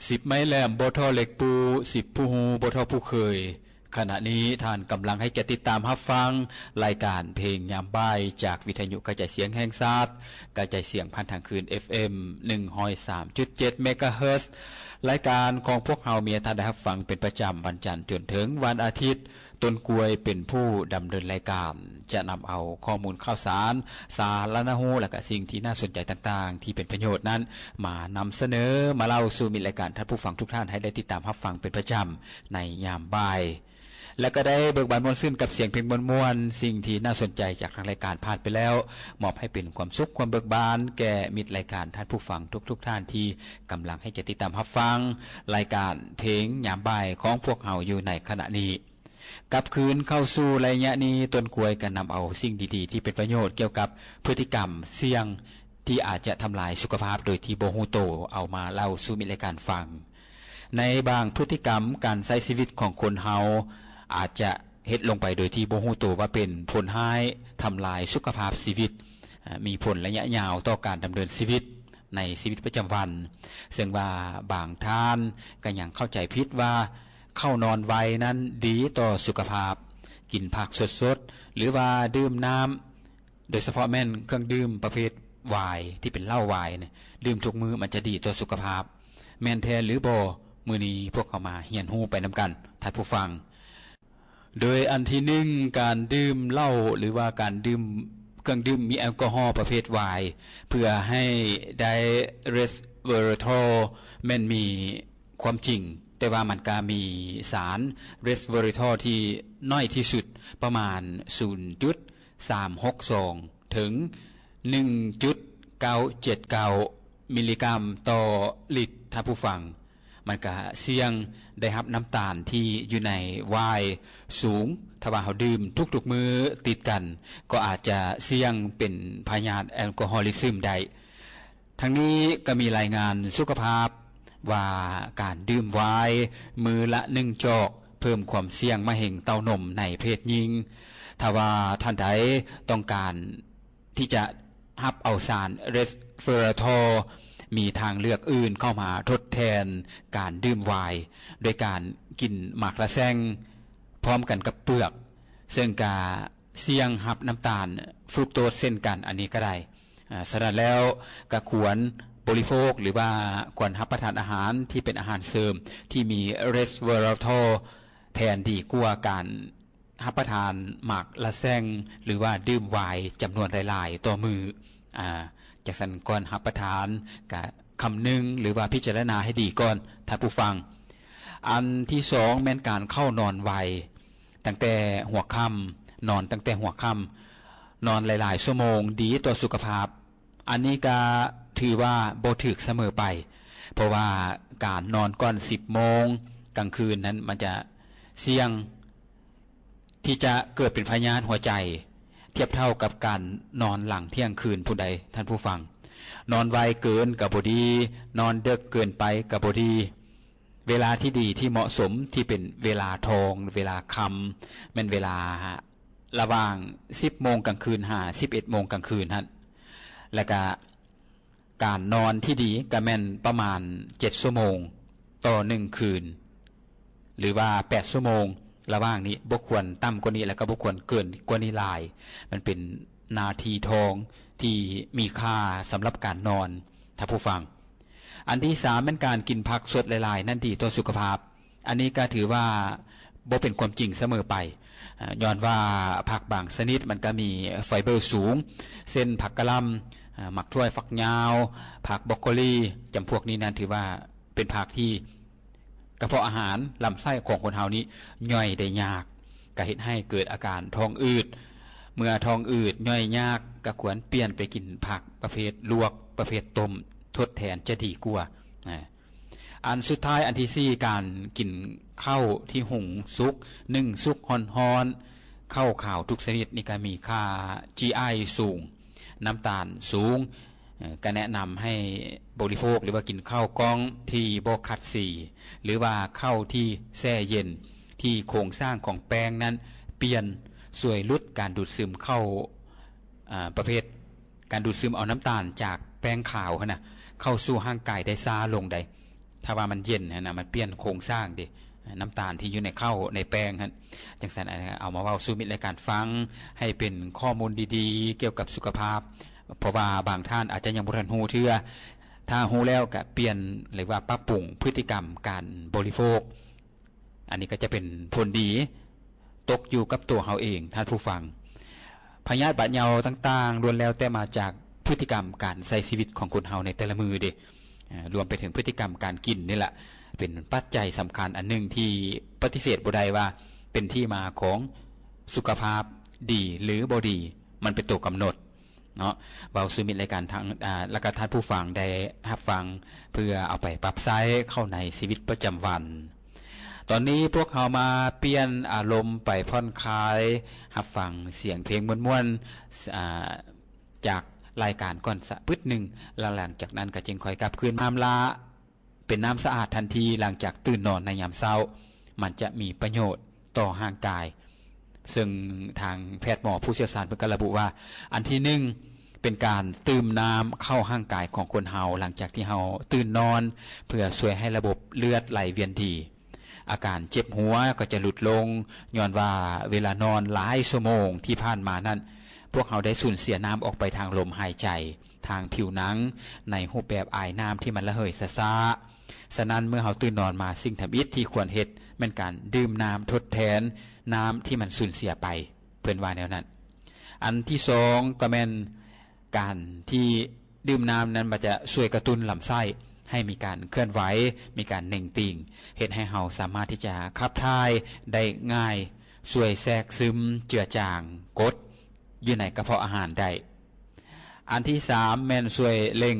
ສິບໄມ້ແຫຼມບໍ່ທໍ່ເຫຼັກປູ, ສິບຜູ້ຮູ້ບໍ່ທໍ່ຜູ້ເຄີຍ. ຂະນະນີ້ທ່ານກຳລັງໃຫ້ກຽດຕິດຕາມຮັບຟັງລາຍການເພງຍາມບ່າຍ ຈາກວິທະຍຸກະຈາຍສຽງແຫ່ງຊາດ, ກະຈາຍສຽງຜ່ານທາງຄື້ນ ເອັຟເອັມ ໜຶ່ງຮ້ອຍສາມຈຸດເຈັດ ເມກາເຮີດ. ລາຍການຂອງພວກເຮົາມີໃຫ້ທ່ານໄດ້ຮັບຟັງເປັນປະຈຳວັນຈັນຈົນເຖິງວັນອາທິດ. ຕົ້ນກ້ວຍເປັນຜູ້ດຳເນີນລາຍການ, ຈະນຳເອົາຂໍ້ມູນຂ່າວສານ, ສາລະນະຮູ້ ແລະ ກະສິ່ງທີ່ໜ້າສົນໃຈຕ່າງໆ ທີ່ເປັນປະໂຫຍດນັ້ນ ມານຳສະເໜີ, ມາເລົ່າສູ່ມິດລາຍການທ່ານຜູ້ຟັງທຸກທ່ານໃຫ້ໄດ້ຕິດຕາມຮັບຟັງເປັນປະຈຳໃນຍາມບ່າຍ. ແລະ ກໍໄດ້ເບີກບານມ່ວນຊື່ນກັບສຽງເພງມ່ວນໆ, ສິ່ງທີ່ໜ້າສົນໃຈຈາກທາງລາຍການຜ່ານໄປແລ້ວ, ມອບໃຫ້ເປັນຄວາມສຸກຄວາມເບີກບານແກ່ມິດລາຍການທ່ານຜູ້ຟັງທຸກໆທ່ານທີ່ກຳລັງໃຫ້ກຽດຕິດຕາມຮັບຟັງລາຍການເພງຍາມບ່າຍຂອງພວກເຮົາຢູ່ໃນຂະນະນີ້. ກັບຄືນເຂົ້າສູ່ໄລຍະນີ້, ຕົ້ນກ້ວຍກໍນຳເອົາສິ່ງດີໆທີ່ເປັນປະໂຫຍດກ່ຽວກັບພຶດຕິກຳສ່ຽງທີ່ອາດຈະທຳລາຍສຸຂະພາບໂດຍທີ່ບໍ່ຮູ້ໂຕ ເອົາມາເລົ່າສູ່ມິດລາຍການຟັງ. ໃນບາງພຶດຕິກຳການໃຊ້ຊີວິດຂອງຄົນເຮົາ ອາດຈະເຮັດລົງໄປໂດຍທີ່ບໍ່ຮູ້ໂຕວ່າເປັນຜົນຮ້າຍ, ທຳລາຍສຸຂະພາບຊີວິດ, ມີຜົນໄລຍະຍາວຕໍ່ການດຳເນີນຊີວິດ ໃນຊີວິດປະຈຳວັນ, ເຊິ່ງວ່າບາງທ່ານກໍຍັງເຂົ້າໃຈຜິດວ່າເຂົ້ານອນໄວນັ້ນດີຕໍ່ສຸຂະພາບ, ກິນຜັກສົດໆ ຫຼືວ່າດື່ມນ້ຳ, ໂດຍສະເພາະແມ່ນເຄື່ອງດື່ມປະເພດວາຍ ທີ່ເປັນເຫຼົ້າວາຍນີ້, ດື່ມທຸກມື້ມັນຈະດີຕໍ່ສຸຂະພາບ. ແມ່ນແທ້ຫຼືບໍ່? ມື້ນີ້ພວກເຮົາມາຮຽນຮູ້ໄປນຳກັນ, ທ່ານຜູ້ຟັງ. ໂດຍອັນທີໜຶ່ງ, ການດື່ມເຫຼົ້າ ຫຼືວ່າການດື່ມເຄື່ອງດື່ມມີແອລກໍຮໍປະເພດວາຍ ເພື່ອໃຫ້ໄດ້ເຣສເວີຣາໂທ ແມ່ນມີຄວາມຈິງ, ແຕ່ວ່າມັນກະມີສານເຣສເວີຣາໂທທີ່ໜ້ອຍທີ່ສຸດ ປະມານສູນຈຸດສາມຫົກສອງ ເຖິງໜຶ່ງຈຸດເກົ້າເຈັດເກົ້າມິລລີກຣາມຕໍ່ລິດ, ທ່ານຜູ້ຟັງ. ມັນກະສ່ຽງໄດ້ຮັບນ້ຳຕານທີ່ຢູ່ໃນວາຍສູງ. ຖ້າວ່າເຮົາດື່ມທຸກໆມື້ຕິດກັນ, ກໍອາດຈະສ່ຽງເປັນພະຍາດແອລກໍຮໍລິຊຶມໄດ້. ທັງນີ້ກໍມີລາຍງານສຸຂະພາບວ່າ ການດື່ມວາຍມື້ລະໜຶ່ງຈອກ ເພີ່ມຄວາມສ່ຽງມະເຮັງເຕົ້ານົມໃນເພດຍິງ. ຖ້າວ່າທ່ານໃດຕ້ອງການ ທີ່ຈະຮັບເອົາສານເຣສເວີຣາໂທ ມີທາງເລືອກອື່ນເຂົ້າມາທົດແທນການດື່ມວາຍ ໂດຍການກິນໝາກລະແຊງພ້ອມກັນກັບເປືອກ, ເຊິ່ງກະສ່ຽງຮັບນ້ຳຕານຟຣູກໂຕສເຊັ່ນກັນ, ອັນນີ້ກໍໄດ້. ອາ ສະນັ້ນແລ້ວ ກະຄວນບໍລິໂພກ ຫຼືວ່າຄວນຮັບປະທານອາຫານທີ່ເປັນອາຫານເສີມທີ່ມີເຣສເວີຣາໂທ ແທນ ດີກວ່າການ ຮັບປະທານໝາກລະແຊງ ຫຼືວ່າດື່ມວາຍຈຳນວນຫຼາຍໆຕໍ່ມື້. ອາ ຈັ່ງຊັ້ນ ກ່ອນຮັບປະທານກະຄຳນຶງ ຫຼືວ່າພິຈາລະນາໃຫ້ດີກ່ອນ, ທ່ານຜູ້ຟັງ. ອັນທີສອງ ແມ່ນການເຂົ້ານອນໄວ ຕັ້ງແຕ່ຫົວຄ່ຳ, ນອນຕັ້ງແຕ່ຫົວຄ່ຳ, ນອນຫຼາຍໆຊົ່ວໂມງ ດີຕໍ່ສຸຂະພາບ. ອັນນີ້ກະຖືວ່າບໍ່ຖືກສະເໝີໄປ, ເພາະວ່າການນອນກ່ອນສິບໂມງກາງຄືນນັ້ນ ມັນຈະສ່ຽງທີ່ຈະເກີດເປັນພະຍາດຫົວໃຈ ທຽບເທົ່າກັບການນອນຫຼັງທ່ຽງຄືນພຸ້ນໃດ໋ ທ່ານຜູ້ຟັງ. ນອນໄວເກີນກະບໍ່ດີ, ນອນເດິກເກີນໄປກະບໍ່ດີ. ເວລາທີ່ດີທີ່ເໝາະສົມ ທີ່ເປັນເວລາທອງ ເວລາຄ່ຳ ແມ່ນເວລາລະຫວ່າງສິບໂມງກາງຄືນຫາສິບເອັດໂມງກາງຄືນຫັ້ນ. ແລ້ວກະການນອນທີ່ດີກະແມ່ນປະມານເຈັດຊົ່ວໂມງຕໍ່ໜຶ່ງຄືນ ຫຼືວ່າແປດຊົ່ວໂມງ. ລະຫວ່າງນີ້ບໍ່ຄວນຕ່ຳກວ່ານີ້ ແລ້ວກະບໍ່ຄວນເກີນກວ່ານີ້ຫຼາຍ. ມັນເປັນນາທີທອງທີ່ມີຄ່າສຳລັບການນອນ ທ່ານຜູ້ຟັງ. ອັນທີສາມ ແມ່ນການກິນຜັກສົດຫຼາຍໆນັ້ນດີຕໍ່ສຸຂະພາບ. ອັນນີ້ກະຖືວ່າບໍ່ເປັນຄວາມຈິງສະເໝີໄປ, ຍ້ອນວ່າຜັກບາງຊະນິດມັນກະມີໄຟເບີສູງ ເຊັ່ນ ຜັກກະຫຼ່ຳ, ໝາກຖົ່ວຝັກຍາວ, ຜັກບຣອກໂກລີ, ຈຳພວກນີ້ນັ້ນຖືວ່າເປັນຜັກທີ່ ກະເພາະອາຫານລຳໄສ້ຂອງຄົນເຮົານີ້ຍ່ອຍໄດ້ຍາກ, ກະເຮັດໃຫ້ເກີດອາການທ້ອງອືດ. ເມື່ອທ້ອງອືດຍ່ອຍຍາກ ກະຄວນປ່ຽນໄປກິນຜັກປະເພດລວກ, ປະເພດຕົ້ມ ທົດແທນຈະດີກວ່າ. ອັນສຸດທ້າຍ ອັນທີສີ່ ການກິນເຂົ້າທີ່ຫຸງສຸກ, ໜຶ້ງສຸກຮ້ອນໆ, ເຂົ້າຂາວທຸກຊະນິດນີ້ກະມີຄ່າຈີໄອສູງ, ນ້ຳຕານສູງ. ເອີ ກະແນະນຳໃຫ້ບໍລິໂພກ ຫຼືວ່າກິນເຂົ້າກ່ອງທີ່ບໍ່ຂັດສີ ຫຼືວ່າເຂົ້າທີ່ແຊ່ເຢັນ ທີ່ໂຄງສ້າງຂອງແປ້ງນັ້ນປ່ຽນ ຊ່ວຍຫຼຸດການດູດຊຶມເຂົ້າ ອາ ປະເພດການດູດຊຶມເອົານ້ຳຕານຈາກແປ້ງຂາວຫັ້ນນະ ເຂົ້າສູ່ຮ່າງກາຍໄດ້ຊ້າລົງໃດ໋. ຖ້າວ່າມັນເຢັນຫັ້ນນະ ມັນປ່ຽນໂຄງສ້າງເດ້ ນ້ຳຕານທີ່ຢູ່ໃນເຂົ້າໃນແປ້ງຫັ້ນ. ຈັ່ງຊັ້ນ ເອົາມາເວົ້າສູ່ມິດລາຍການຟັງ ໃຫ້ເປັນຂໍ້ມູນດີໆກ່ຽວກັບສຸຂະພາບ ເພາະວ່າບາງທ່ານອາດຈະຍັງບໍ່ທັນຮູ້ເທື່ອ. ຖ້າຮູ້ແລ້ວກະປ່ຽນ ຫຼືວ່າປັບປຸງພຶດຕິກຳການບໍລິໂພກ ອັນນີ້ກໍຈະເປັນຜົນດີຕົກຢູ່ກັບຕົວເຮົາເອງ ທ່ານຜູ້ຟັງ. ພະຍາດບາດເຍົາຕ່າງໆ ລ້ວນແລ້ວແຕ່ມາຈາກພຶດຕິກຳການໃຊ້ຊີວິດຂອງຄົນເຮົາໃນແຕ່ລະມື້ເດ້ ເອີ ລວມໄປເຖິງພຶດຕິກຳການກິນນີ້ແຫຼະ ເປັນປັດໄຈສຳຄັນອັນໜຶ່ງທີ່ປະຕິເສດບໍ່ໄດ້ວ່າເປັນທີ່ມາຂອງສຸຂະພາບດີ ຫຼື ບໍ່ດີ ມັນເປັນຕົວກຳນົດ ເນາະ ເວົ້າສູ່ມິດລາຍການທາງ ອາ ແລະກະທ່ານຜູ້ຟັງໄດ້ຮັບຟັງ ເພື່ອເອົາໄປປັບໃຊ້ເຂົ້າໃນຊີວິດປະຈຳວັນ. ຕອນນີ້ພວກເຮົາມາປ່ຽນອາລົມໄປຜ່ອນຄາຍ ຮັບຟັງສຽງເພງມ່ວນໆ ອາ ຈາກລາຍການກ່ອນສະປຶດໜຶ່ງ ແລະ ຫຼັງຈາກນັ້ນກໍຈຶ່ງຄ່ອຍກັບຄືນມາ ນ້ຳລະ ເປັນນ້ຳສະອາດທັນທີຫຼັງຈາກຕື່ນນອນໃນຍາມເຊົ້າ ມັນຈະມີປະໂຫຍດຕໍ່ຮ່າງກາຍ ເຊິ່ງທາງແພດໝໍຜູ້ຊ່ຽວຊານເພິ່ນກໍລະບຸວ່າ ອັນທີໜຶ່ງ ເປັນການຕື່ມນ້ຳເຂົ້າຮ່າງກາຍຂອງຄົນເຮົາ ຫຼັງຈາກທີ່ເຮົາຕື່ນນອນ ເພື່ອຊ່ວຍໃຫ້ລະບົບເລືອດໄຫຼວຽນດີ. ອາການເຈັບຫົວກໍຈະຫຼຸດລົງ ຍ້ອນວ່າເວລານອນຫຼາຍຊົ່ວໂມງທີ່ຜ່ານມານັ້ນ ພວກເຮົາໄດ້ສູນເສຍນ້ຳອອກໄປທາງລົມຫາຍໃຈ ທາງຜິວໜັງ ໃນຮູບແບບອາຍນ້ຳທີ່ມັນລະເຫີຍຊ້າໆ. ສະນັ້ນ ເມື່ອເຮົາຕື່ນນອນມາ ສິ່ງທຳອິດທີ່ຄວນເຮັດແມ່ນການດື່ມນ້ຳທົດແທນນ້ຳທີ່ມັນສູນເສຍໄປ ເພິ່ນວ່າແນວນັ້ນ. ອັນທີສອງ ກໍແມ່ນການທີ່ດື່ມນ້ຳນັ້ນ ມັນຈະຊ່ວຍກະຕຸ້ນລຳໄສ້ໃຫ້ມີການເຄື່ອນໄຫວ ມີການເໜັງຕີງ ເຮັດໃຫ້ເຮົາສາມາດທີ່ຈະຂັບຖ່າຍໄດ້ງ່າຍ ຊ່ວຍແຊກຊຶມເຈືອຈາງກົດຢູ່ໃນກະເພາະອາຫານໄດ້. ອັນທີສາມ ແມ່ນຊ່ວຍເລັ່ງ